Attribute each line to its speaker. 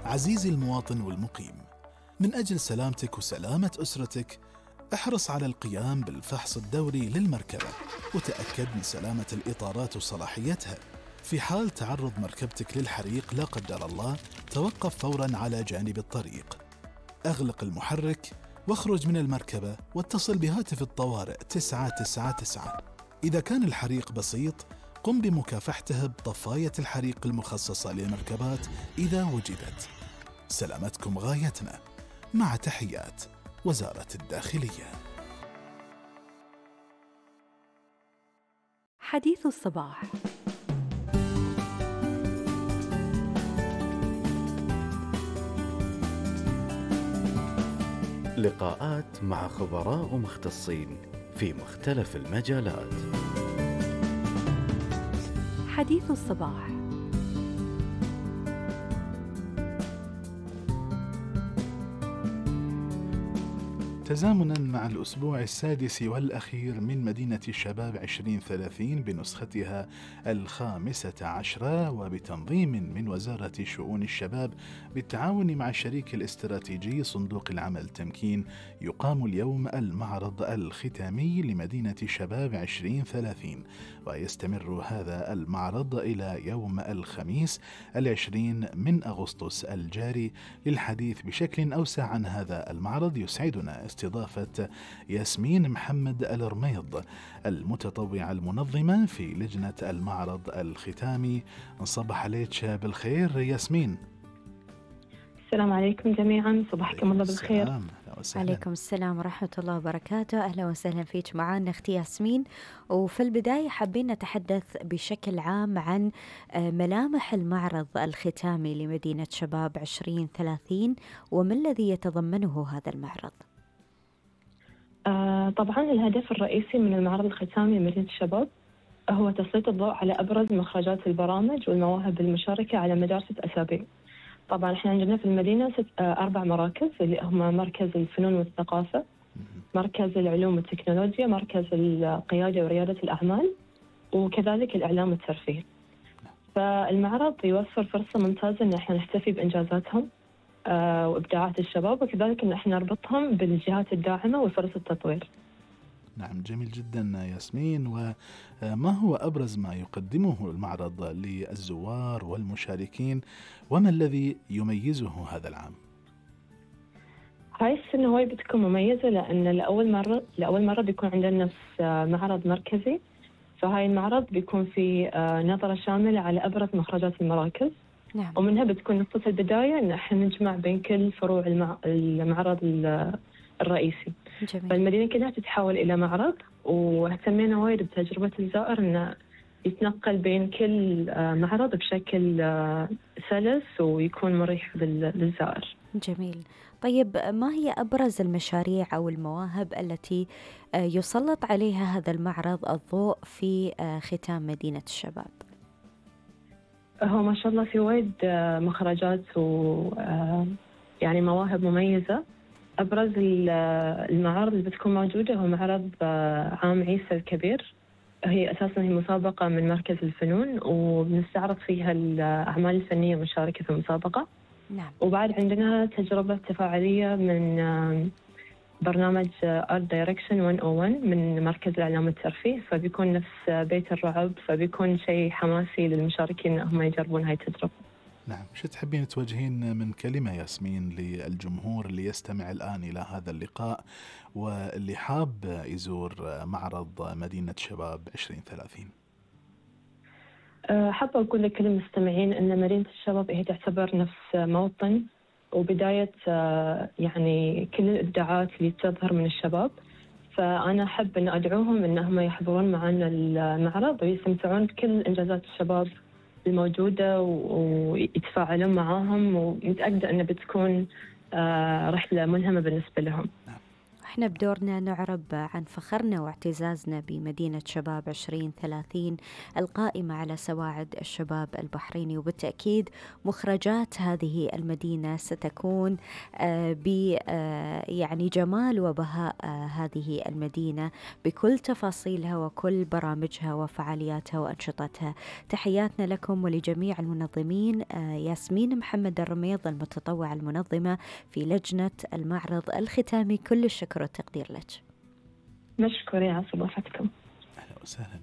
Speaker 1: عزيزي المواطن والمقيم، من أجل سلامتك وسلامة أسرتك احرص على القيام بالفحص الدوري للمركبة، وتأكد من سلامة الإطارات وصلاحيتها. في حال تعرض مركبتك للحريق لا قدر الله، توقف فوراً على جانب الطريق، أغلق المحرك واخرج من المركبة واتصل بهاتف الطوارئ 999. إذا كان الحريق بسيط، قم بمكافحته بطفاية الحريق المخصصة للمركبات إذا وجدت. سلامتكم غايتنا. مع تحيات وزارة الداخلية.
Speaker 2: حديث الصباح.
Speaker 3: لقاءات مع خبراء ومختصين في مختلف المجالات.
Speaker 2: حديث الصباح.
Speaker 1: تزامناً مع الأسبوع السادس والأخير من مدينة الشباب 2030 بنسختها 15، وبتنظيم من وزارة شؤون الشباب بالتعاون مع الشريك الاستراتيجي صندوق العمل تمكين، يقام اليوم المعرض الختامي لمدينة الشباب 2030، ويستمر هذا المعرض إلى يوم الخميس 20 من أغسطس الجاري. للحديث بشكل أوسع عن هذا المعرض يسعدنا استضافة ياسمين محمد الرميض، المتطوعة المنظمة في لجنة المعرض الختامي. نصبح عليك بالخير ياسمين.
Speaker 4: السلام عليكم جميعا، صباحكم الله بالخير.
Speaker 2: عليكم السلام ورحمة الله وبركاته. أهلا وسهلا فيك معنا أختي ياسمين. وفي البداية حابين نتحدث بشكل عام عن ملامح المعرض الختامي لمدينة شباب 2030 وما الذي يتضمنه هذا المعرض؟
Speaker 4: طبعا الهدف الرئيسي من المعرض الختامي لمدينة الشباب هو تسليط الضوء على أبرز مخرجات البرامج والمواهب المشاركة على مدار 6 أسابيع. طبعا احنا عندنا في المدينة 4 مراكز اللي هم مركز الفنون والثقافة، مركز العلوم والتكنولوجيا، مركز القيادة وريادة الأعمال، وكذلك الإعلام والترفيه. فالمعرض يوفر فرصة ممتازة إن احنا نحتفي بإنجازاتهم وإبداعات الشباب، وكذلك إن احنا نربطهم بالجهات الداعمة وفرص التطوير.
Speaker 1: نعم، جميل جدا ياسمين. وما هو أبرز ما يقدمه المعرض للزوار والمشاركين، وما الذي يميزه هذا العام؟
Speaker 4: هاي السنة هواي بتكون مميزة، لأن لأول مرة بيكون عندنا نفس معرض مركزي. فهاي المعرض بيكون في نظرة شاملة على أبرز مخرجات المراكز.
Speaker 2: نعم.
Speaker 4: ومنها بتكون نقطة البداية إن احنا نجمع بين كل فروع المعرض الرئيسي.
Speaker 2: جميل.
Speaker 4: فالمدينة كلها تتحول إلى معرض، واهتمينا وايد بتجربة الزائر إنه يتنقل بين كل معرض بشكل سلس ويكون مريح للزائر.
Speaker 2: جميل. طيب، ما هي أبرز المشاريع أو المواهب التي يسلط عليها هذا المعرض الضوء في ختام مدينة الشباب؟
Speaker 4: هو ما شاء الله في وايد مخرجات يعني مواهب مميزة. أبرز المعارض اللي بتكون موجودة هو معرض عام عيسى الكبير. هي أساساً هي مسابقة من مركز الفنون، وبنستعرض فيها الأعمال الفنية المشاركة في المسابقة.
Speaker 2: نعم.
Speaker 4: وبعد عندنا تجربة تفاعلية من برنامج Art Direction 101 من مركز الإعلام والترفيه، فبيكون نفس بيت الرعب، فبيكون شيء حماسي للمشاركين أنهم يجربون هاي التجربة.
Speaker 1: نعم، شو تحبين توجهين من كلمة ياسمين للجمهور اللي يستمع الآن إلى هذا اللقاء واللي حاب يزور معرض مدينة شباب 2030؟
Speaker 4: حابة أقول لكل المستمعين أن مدينة الشباب هي تعتبر نفس موطن وبداية يعني كل الإبداعات اللي تظهر من الشباب. فأنا أحب أن أدعوهم أنهم يحضرون معنا المعرض ويستمتعون بكل إنجازات الشباب الموجودة ويتفاعلون معاهم، ومتأكدة أنه بتكون رحلة ملهمة بالنسبة لهم.
Speaker 2: احنا بدورنا نعرب عن فخرنا واعتزازنا بمدينة شباب 2030 القائمة على سواعد الشباب البحريني، وبالتأكيد مخرجات هذه المدينة ستكون يعني جمال وبهاء هذه المدينة بكل تفاصيلها وكل برامجها وفعالياتها وأنشطتها. تحياتنا لكم ولجميع المنظمين. ياسمين محمد الرميض المتطوعة المنظمة في لجنة المعرض الختامي، كل الشكر والتقدير لك.
Speaker 4: مشكورين على صباحتكم.
Speaker 1: أهلا وسهلا.